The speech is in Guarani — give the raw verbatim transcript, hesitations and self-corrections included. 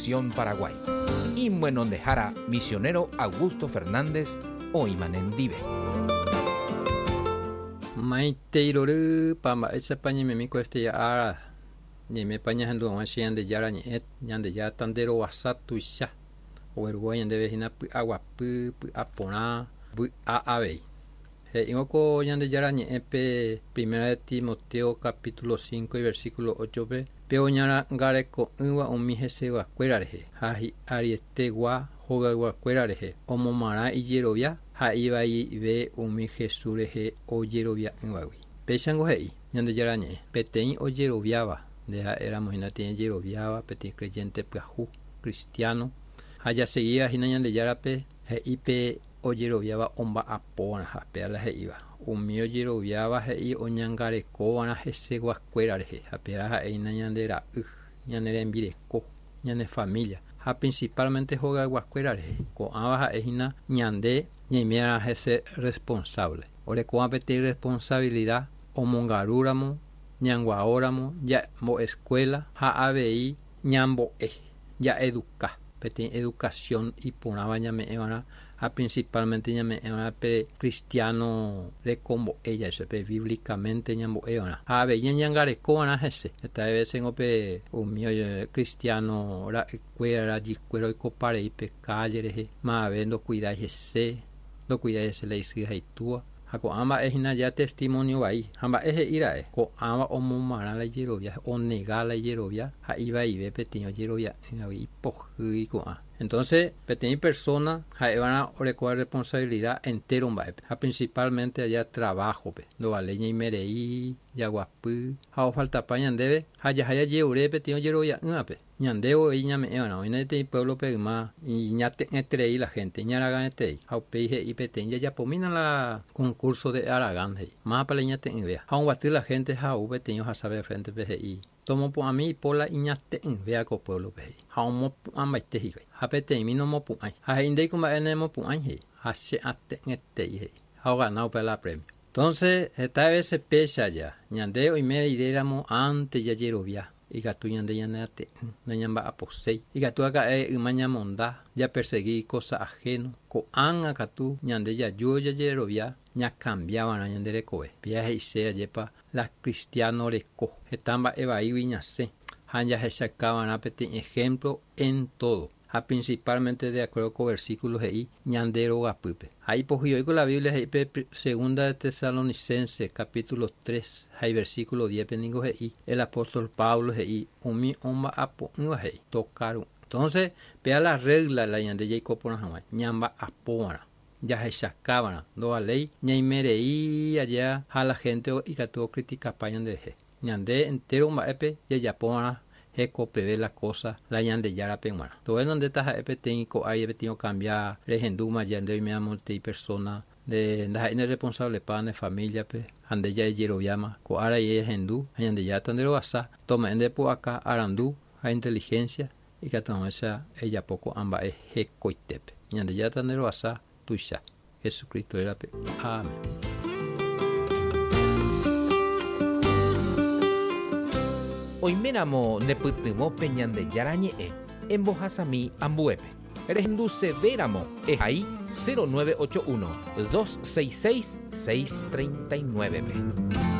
Nación Paraguay. Imbuenondehara, misionero Augusto Fernández, oĩma nendive. Maitei rory, mba'éichapa ñaimemi ko este ára ñaimépa ñahendu hag̃ua che Ñandejára ñe'ẽ. Ñandejára tanderovasa tuicha oguerúva ñandéve hína py'aguapy, py'aporã, vy'a avei. He'ívo ko Ñandejára ñe'ẽ pe Primera de Timoteo capítulo cinco y versículo ocho pe pe oñangareko'ỹva umi heseguakuéra rehe ha hi'arietegua hogayguakuéra rehe omomarã ijerovia ha ivaive umi Jesús rehe ojerovia'ỹvagui. Péichango he'i Ñandejára ñe'ẽ peteĩ ojeroviáva nde ha'éramo hína peteĩ ojeroviáva, peteĩ creyente pyahu cristiano ha jaseguíva hína Ñandejárape, he'i pe ojeroviáva omba'apóva'erã. Péa la he'íva umi ojeroviáva, he'i oñangarekova'erã heseguakuéra rehe ha péa ha'ehína ñande ra'y, ñane rembireko, ñane familia ha principalmente hogayguakuéra rehe. Ko'ãva ha'ehína ñande ñaimé'arã hese responsable, orekóva peteĩ responsabilidad omongarúramo, ñanguaóramo, ñambo'escuela ha avei ñambo'e, ja'educa, peteĩ educación iporãva ñame'ẽva'erã ha principalmente ñame'ẽva'erã pe cristiano rekombo'e ja'e pe bíblicamente ñambo'eva'erã ha avei ñañangarekova'erã hese. Heta veces pe umi cristiano ra'ykuéra, rajykuéra oikoparei pe calle rehe, mave ndocuidái hese, ndocuidái hese la isy ha itúa ha ko'ã mba'e hína ja testimonio vai ha mba'e he'íra'e ko'ãva omomarã la ijerovia, onega la ijerovia ha ivaive peteĩ ojerovia'ỹgui, ipohýi ko'ã. Entonces peteĩ persona ha'eva'erã orekóva responsabilidad entero mba'épe ha principalmente allá trabajo-pe. Ndovaléi ñaimerei jaguapy ha ofaltapa ñandéve ha jaha jajeure peteĩ ojerovia'ỹvape, ñande voi ñame'ẽva'erã. Oĩna peteĩ pueblo-pe yma iñate'ỹeterei la gente, iñaragãeterei ha upéi he'i peteĩ jajapomína la concurso de haragán, he'i mávapa la iñate'ỹvéva ha omboaty la gente ha ou peteĩ ohasave frente-pe, he'i tomopu'ãmi ipo la iñate'ỹvéva ko pueblo-pe, he'i ha omopu'ãmbaite hikuái ha peteĩmi nomopu'ãi ha he'i ndéiko mba'e nemopu'ãi, he'i ha che ate'ỹetei, he'i ha ogana upe la premio. Entonces heta veces péicha ja ñande oime riréramo antes jajerovia ikatu ñande ñaneate'ỹ, nañamba'aposéi, ikatu aka'e yma ñamonda, japersegui cosa ajeno. Ko'ág̃a katu ñande jaju jajerovia, ñacambiava'erã ñande rekove. Péa he'ise ajépa la cristiano reko heta mba'e vaígui ñasẽ ha jahechakava'erã peteĩ ejemplo en todo ha principalmente de acuerdo con versículo he'i ñande rogapýpe. Ha ipohýi la Biblia he'i pe Segunda de Tesalonicense capítulo tres ha versículo diez pe ningo he'i el apóstol Pablo, he'i umi omba'apo'ỹva, he'i tokaru. Entonces péa la regla la ñande jaiko porã hag̃ua, ñamba'apóva'erã, jahechakava'erã. Ndovaléi ñaimerei allá ha la gente ikatu ocriticapa ñanderehe. Ñande entero mba'épe jajapova'erã hekopeve la cosa la Ñandejárape g̃uarã. Tovéno ndéta ha'e peteĩ ko'ái peteĩ ocambia rehendúma ja nde oiméva peteĩ persona nde ndaha'éi ne responsable-pa ne familia-pe ha nde jajeroviáma ko ára ehendu ha Ñandejára tanderovasa tome'ẽ nde pu'aka, arandu ha inteligencia ikatu hag̃uáicha ejapo ko'ã mba'e hekoitépe. Ñandejára tanderovasa tuicha. Jesucristo rérape. Amén. Oiméramo nepytyvõ pe Ñandejára ñe'ẽ, embohasami ambuépe. Rehendusevéramo ehai cero nueve ocho uno, dos seis seis, seis treinta y nueve pe.